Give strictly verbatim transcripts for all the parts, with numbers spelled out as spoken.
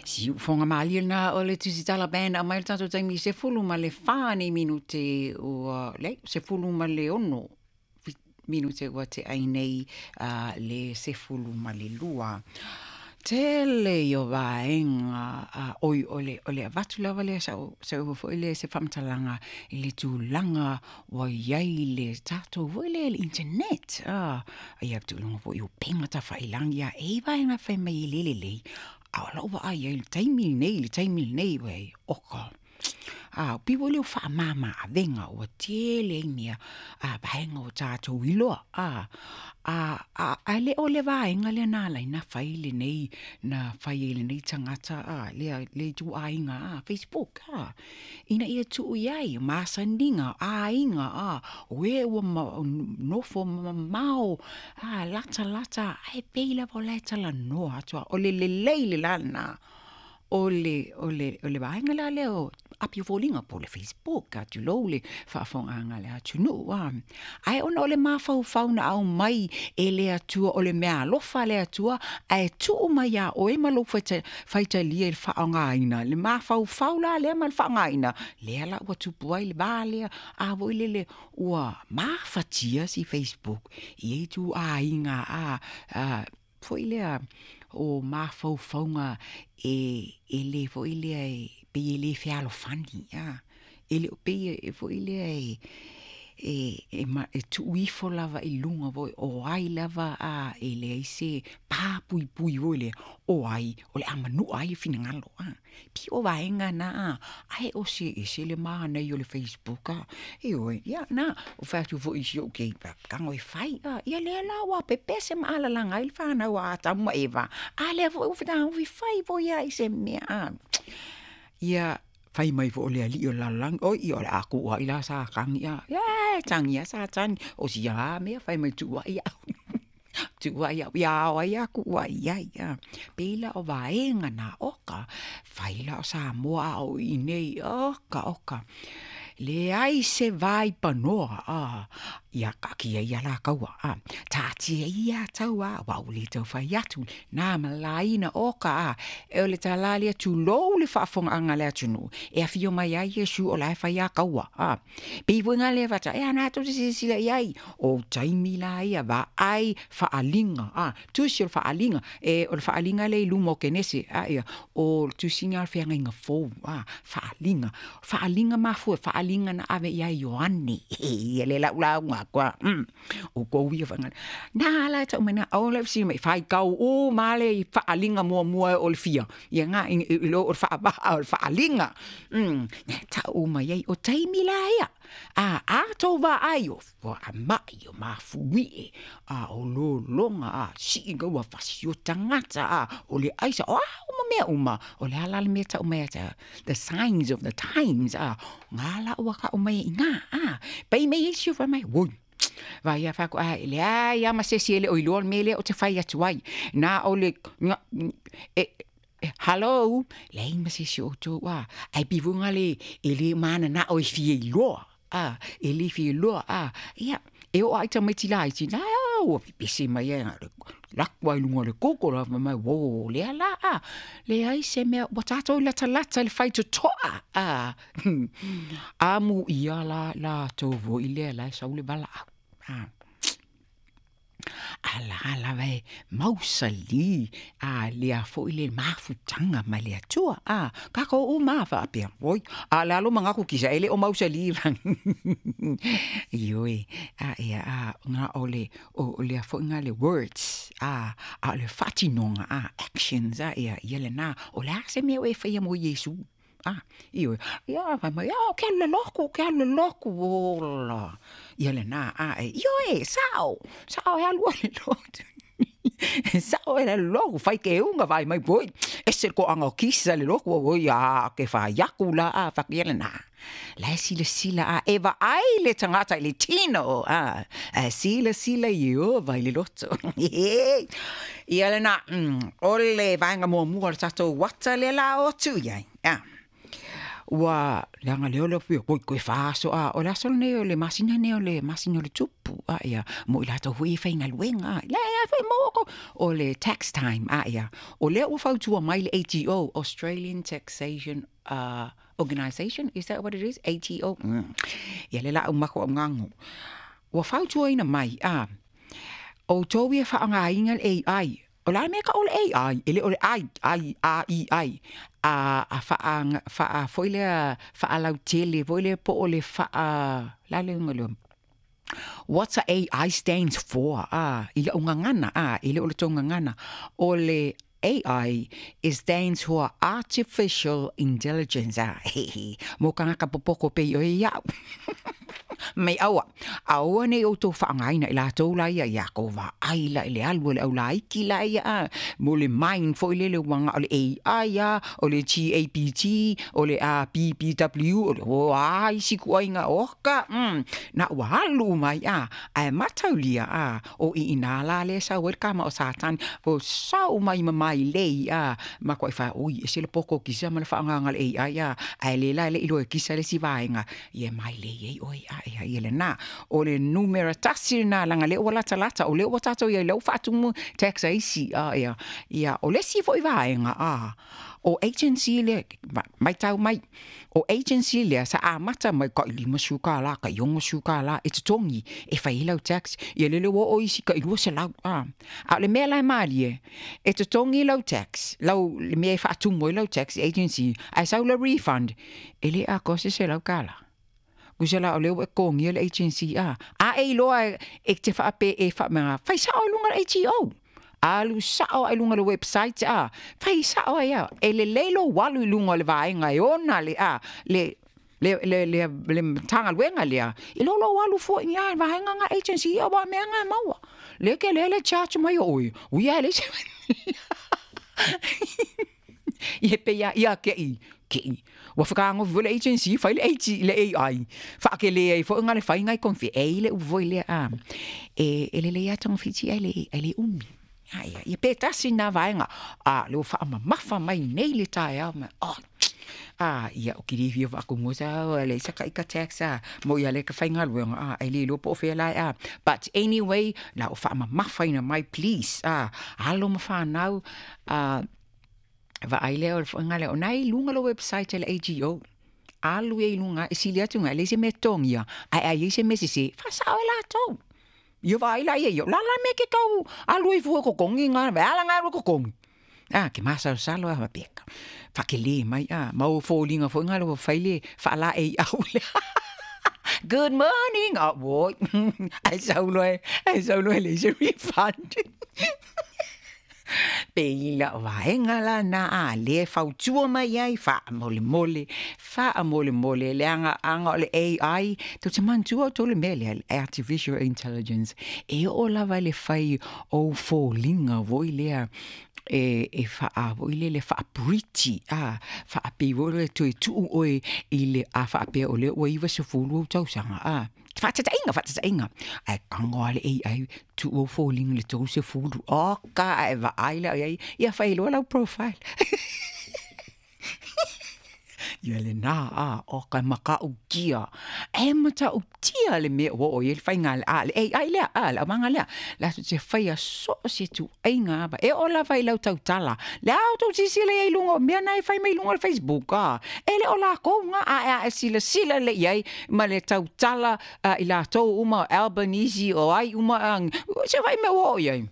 Siufoga malie lena o le Tusitala Band aumai le tatou taimi sefulu ma le fa nei minute ua leai sefulu ma le ono minute ua te'a nei uh, le sefulu ma le lua. Tele i o vaega uh, oi o le, o le avatu lava lea sa'u sa'u foi lea se faamatalaga i le tulaga ua iai le tatou foi lea le internet ah, ia tulaga foi o upega tafailagi a e i vaega fai mai e lē lelei a o la'u vaai ai le taimi lenei le taimi lenei ua oka a pei foi lea o faamāmā avega ua tele ai mea a vaega o tatou iloa a a a ae le o le vaega lea na ala ai na fai lenei na fai ai lenei tagata a lea le ituaiga a Facebook a ina ia tuu i ai masaniga aiga a o e ua ma, nofo mamao a latalata ae pei lava o la e talanoa atu a o le lelei le la lena o le o le o le vaega la lea o api o foliga po o le Facebook a tulou le faafofogaaga a le atunuu a ae ona o le mafaufau na aumai e le Atua o le mea alofa a le Atua ae tuu mai iā oe ma lou faitalia i le faaaogaina le mafaufau la lea ma le faaaogaina lea la ua tupu ai le va lea a foi lele ua mafatia si Facebook i ai ituaiga a a foi lea o mafaufauga e e lē foi lea e pei e lē fealofani a e le o pei e foi lea e e e, ma, e tuu ifo lava i luga foi o ai lava a e leai se papuipui foi lea o ai o le a manu'a ai le finagalo a pei o vaega na a ae o se ese le manaia o le Facebook a ioe ia na o fai atu foi i si ou keiki tago e fai a ia lea la ua pepese ma alalaga ai le fanau a Atamu ma Eva a lea foi ua fetagofi fai foi a i se mea a ia fai mai foi o le ali'i o le lalolagi oi ia o le a ku'u a'i la Satani a ia tagi a Satani o sia a mea fai mai tu'u a'i a'u tu'u a'i a'u ia ao ai a ku'u a'i ai a pei la o vaega na oka fai la o Samoa a o i nei oka oka leai se vaipanoa a ia kaatia ia lakaua a taatia ia taua aua ua lē taufai atu na malaina oka a e o le talā lea tulou le faafofogaaga a le atunuu e afio mai ai Iesu o la e fai kaua a pei foi ga lea faata e ana tou te silasila i ai o taimi la ia vaai faaliga a tusi o le faaliga e o le faaliga lea i luma o Kenese a ia o le tusiga o le feagaiga fou a faaliga faaliga mafua faaliga na ave ia Ioane ia le lau lauga aku a mm. O kou ia faga na ala e tau mai na o le fesili mai faitau uma le faaliga muamua o le fia ia ga i lo o le faavaa o le faaliga mm. Tau mai ai o taimi la ia a a tou vaai o faama'i o mafui'e a o lologa a si'i gaua fasi o tagata a o le aisa o a uma mea uma o le ala le mea tau mai ata the signs of the times a ngā la ua ka'u mai i gā a pei mai isi o fai mai oi vai a faku a leai a ma se isi e le o iloa le mea lea o te fai atu ai na o le e hello leai ma se isi o outou a ae pei foi le e lē manana'o e fia iloa a e lē fia iloa a ia e oo ai tamaiti laiti na ua pepese mai ai laku ai luga o le Google a fai mai ō lea la a leai se mea ua tatou latalata i le faitoto'a a amuia la latou foi lea la e sau le valaau a ala lava e mausalī a lea foi le mafutaga mai le Atua a takou uma faapea oi a le alo manatu kisa e le o mausalī ioe a ia a ga o le o lea foi ga le words a a o le faatinoga a actions a ia ia lenā o le a se mea ua e faia mo Iesu a ioe ia fai mai a o ke alu le lotu ke alu le lotu ola ia lenā a e ioe sa'o sa'o e alu ai le lotu sa'o e le lotu fai keuga vaai mai poi ese le to'aga o kisa le lotu oi a ke fai aku la a fakia lenā la e silasila a e vaai le tagata i le tino a e silasila Ieova i le loto ia lenā o le vaega muamua o le tatou ata lea la o atu i ai a Ua leaga lea o le oi toe fa aso a o le aso lenei o le masina lenei o le masina o le tupu a ia mo i latou foi e faigaluega a le a foi maua ko o le tax time a ia o lea ua fautua mai le A T O, Australian Taxation uh, Organisation, is that what it is? A T O. Mm. Ia le la umako au ngango. Ua fautuaina mai a o tau ia whaangāinga le A I. O la mea ka o le A I, ele o le I, I, A, I, I. A, a whaanga, whaa, foi lea, whaalautele, foi lea po o le whaa, la le unga leo. What's a A I stands for? Ah, i la ungangana, ah, ele o le tongangana. O le A I it stands for Artificial Intelligence. Ah, he he. Mo kangaka popoko pe o ia. Mai aua. Aua nei o tō whaangaina i lātou la ia, ia ko wā ai la i le alu le au la iki la ia. A. Mo le mind fo i lele wanga o le A I a, o le G A P T, o le A P P W, o le o ai siku ainga oka. Mm. Na ua alu mai a, ai mataulia a, o i ina la le sau el kama o satan, o sau mai mamai lei a, ma koe wha, oi, e se le poko kisa ma le whaanganga le A I a, ai le la le ilo e kisa le si vaenga, ia mai lei ei oi a, ia ia le nā. O le numera tasi nā langa le ua lata lata, o le ua tātou ia le whaatumu tax aisi, a, ia, ia, o le si foi vaenga, a, o agency le, mai tau mai, o agency le, sa amata mai ka i lima suka la, ka i ongo suka la, e te tongi, e whai lau tax, ia lele o o isi ka i lua se lau, a, a le mea lai malie, e te tongi lau tax, lau, le mea e whaatumu lau tax agency, ai sau le refund, e le a kose se lau kala. Kusela o leo e kongi le agency a. A e iloa e te whaape e wha whai sao lunga le A T O. Alu sao ai lunga le website a. Whai sao ai a. E le leilo walu i lunga le vaenga e ona le a. Le le le le le tangaluenga lea. I lolo walu fo i a vaenga nga agency a wa mea nga maua. Le ke le le charge mai oi. Ui a le se. Ie pe ia ia ke i. Ke i. Ua whakaango fo le agency, whai le A T, le A I. Whaake le ai, fo ngā le whai ngai konfi. E le uvoi le a. E, e le le ia tonga whiti ai le, ai le umi. Ai, ia pe tasi nā vaenga. A, le o whaamamafa mai nei le tae au. Oh, a, ia o kiri whia whaakungosa, le saka ika tax a. Mo ia le ka whai ngā luenga, a, ai le lopo o whea lai a. But anyway, la o whaamamafa ina mai, please. A, alo ma whanau, a, va ai lea o le whainga lea, o nai lunga lo website le A G O. Alu e lunga, e sili atu nga, le se me tongia, ai ai se me sisi, whasao e lātou. Ia va ai la ia, ia, la la me ke kau, alu e fua kokongi ngā, ve ala ngā kokongi. Ah, ke masalo salo a mapeka. Whakele mai, ah, mau fōlinga fo ngā lo whaile, whaala e au le. Good morning, oh boy. Ai saulo e, ai saulo e le se refund. Pe ila vaenga la na a le fautua mai ai wha mole mole, wha mole mole le anga anga o le A I, tau te mantua o tō le mea le Artificial Intelligence, e o lava le whai o fōlinga voi lea, e e wha voi le le wha pretty a wha pe voi le toe tuu oe i le a wha pe o le o iwa se fulu o tausanga a whatatainga whatatainga ai kango ale A I tu o fōlinga le tau se fulu o ka ai wa ai le ai ia whai loa lau profile. Ia le nā a o ka maka o kia. E mata o tia le mea o o i le whainga le a le A I lea a le amanga lea. La tu te whai a so se tu ainga aba. E o la whai lau tautala. Le au tau sisi le ei lunga o mea nai whai mai lunga le Facebook a. E le o la kounga a a e sila sila le iai ma le tautala i la tau uma Albanese o ai uma ang. Se whai mea o iai.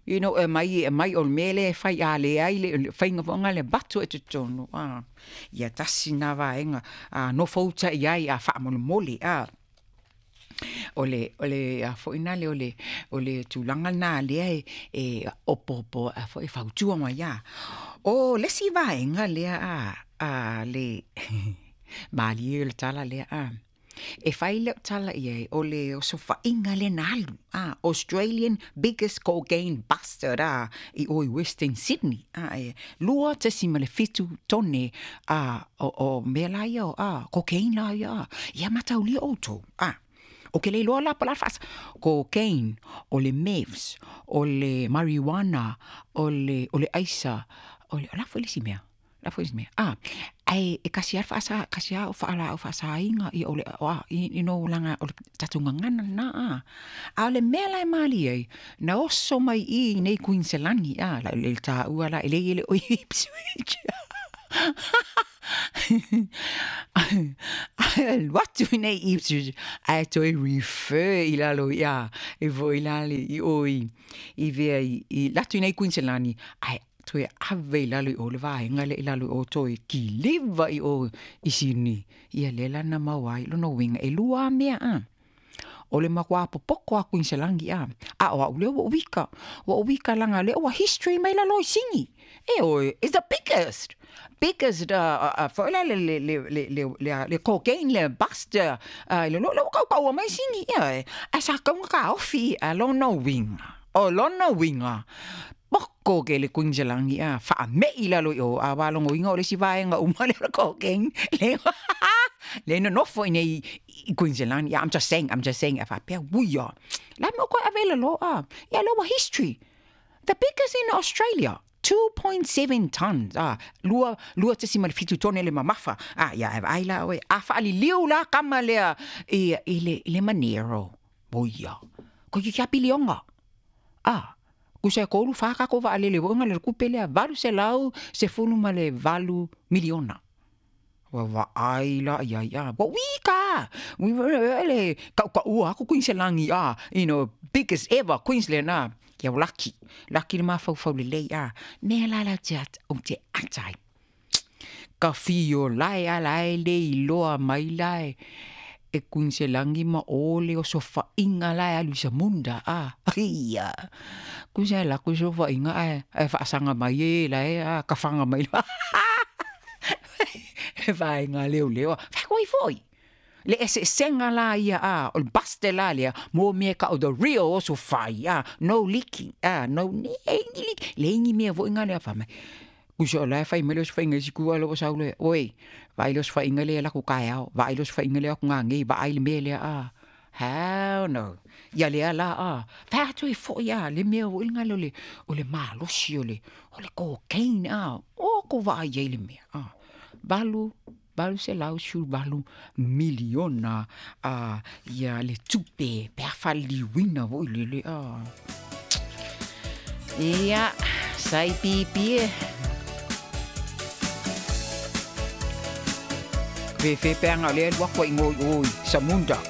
You know, e mai, e mai o mele, whai a le ai, le whainga whaonga le batu e te tono. Ah. Ia tasi nā vaenga, ah, no fauta i ai a whaamole mole. Ah. O le, o le, a foina le, o le, o le tūlanga nā lea e, e opopo, a fo e fautua mai a. O le si vaenga lea a, a le, malie o le tala lea a. E whai leo tala ia e, o le o sofainga le nalu, ah, Australian biggest cocaine buster, ah, i oi Western Sydney, ah, e, lua tasi ma le fitu tone, ah, o, o mea la ia, ah, cocaine la ia, ah, ia mataulia o tau, ah. O ke le loa la pala fas, cocaine, o le meths, o le marijuana, o le, o le aisa, o le, o la fo le si mea. La foi mea. Ah, ai e kasi a faasa kasi a o faala o faasaiga ia o le o a i no langa o le tatou gagana lena a. A o le mea la e malie ai, na oso mai i nei Kuiniselani a, la le taua la e le i le o Ipswich. Alu atu i nei Ipswich ae toe refer i lalo ia e foi la le i o i i vea i, i latu i nei Kuiniselani ae toe ave i lalo i o le vaega lea i lalo i o toe kiliva i o i Sydney. Ia lea la na maua ai lona uiga e lua lava mea a. O le matua popoko a Kuiniselani a. A o au lea ua ou ika. Ua ou ika laga lea ua history mai lalo i Sini. E oe, it's the biggest, biggest uh, uh, foi la le, le, le, le, le, le, le cocaine le bust uh, i le lo, le ua kaukaua mai Sini. Ia e, ae sa kauga taofi a lona uiga. O lona uiga, poko ke le Kuiniselani a, faame'i lalo i o, a walogoina o le isi vaega uma lea o le cocaine, le le nonofo i nei i Kuiniselani. Yeah, I'm just saying, I'm just saying, a faapea, uia, la mea o koe ave i lalo a, ia lea ua history. The biggest in Australia. two point seven tons, ah, lua, lua tasi ma le fitu tone le mamafa. Ah, ia, e vaai la oe, a faaliliu la kama lea i, i le, i le Monero. Oia, koe ki kia pilionga. Ah, kusa e kolu wha kako wa alele wo nga le kupe lea valu selau sefulu ma le valu miliona. Wa wa ai la ia ia. Wa wika. Wi le ka ka ua aku Queensland a, you know, biggest ever Queensland a. Ia laki. Laki le mafaufau lelei a. Mea la la te at o te atai. Ka fio lai a lai le iloa mai lai. E Queensland ma o le o sofainga lai alu i Samunda a. Ia. Kusa la ku sofainga ai ai faasanga mai e lai a ka whanga mai la. E vaenga leo leo. Whakoi foi. Le eseesenga la ia a, o le buste la lea, mo mea ka o the real oso whai a, no leaking a, no ni ni leak. Le ingi mea voi ngā lea whamai. Kusa o lai whai mai leo whainga i siku alo o sau lea. Oi, vai leo whainga lea la ku kai ao, vai leo whainga lea ku ngā ngei, vai le mea lea a. Hell no. Ia lea la a. Whai atu e foi a, le mea o ngā leo le, o le malosi o le, o le cocaine a, o ko vai ei le mea a. Valu, valu selau sefulu valu miliona a ia le tupe pe a faaliliuina foi le le a. Ia, sai pipi e. Fefe peanga o lea alu aku ai ngoi oi, Samunda.